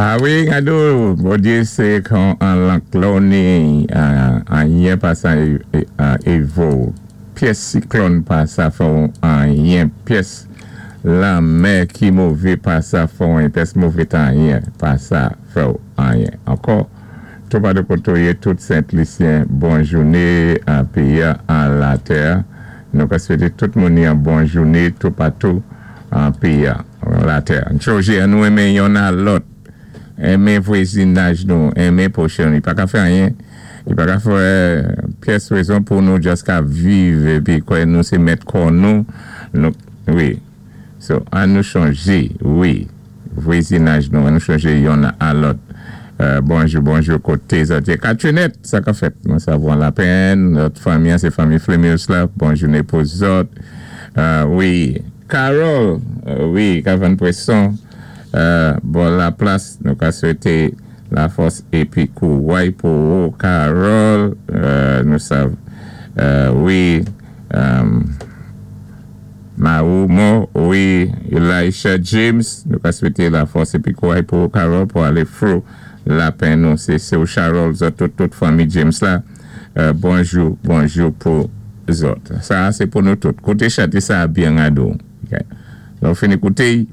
A wi, gado, Bondyé sé kon an lank lè-w ni anyen pa sa évo, pyès siklòn pa sa fè-w anyen, pyès lanmè ki mové pa sa fè-w anyen, pyès mové tan anyen pa sa fè-w anyen. Ankò, toupatou koté w yé, tout Sent Lisyen, bon jouné an péyi-a, an latè. Nou ka swété tout moun yon bon jouné toupatou an péyi-a, an latè. Chonjé, an nou enmen yonn a lòt, enmen vwazinaj nou, enmen pwochen nou. Li pa ka fè anyen, li pa ka fè pyès rézon pou nou just ka viv épi kwè nou sé mèt kò nou, nou, wi. So, an nou chonjé, wi, vwazinaj nou, an nou chonjé yonn a lòt. Bonjou, bonjou koté zòt yé? Katrinèt, sa k ap fèt? Mwen savwan Lapèn, lòt fanmi an sé fanmi Flémius la, bon jouné pou zòt. Wi, Carole, wi, k ap vann pwéson bò Laplas, nou ka swété lafòs épi kouway pou ou Carole, nou sav, wi. Marumo, wi, Elisha James, nou ka swété lafòs épi kouray pou ou Carole pou alé through lapenn nou. Sé sé'w Charol zòt tout tout fanmi James la, bonjou, bonjou pou zòt. Sa a sé pou nou tout. Kouté chanté sa a byen gado. Lè ou fini kouté-y,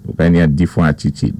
ou ka ni an difwan atitid.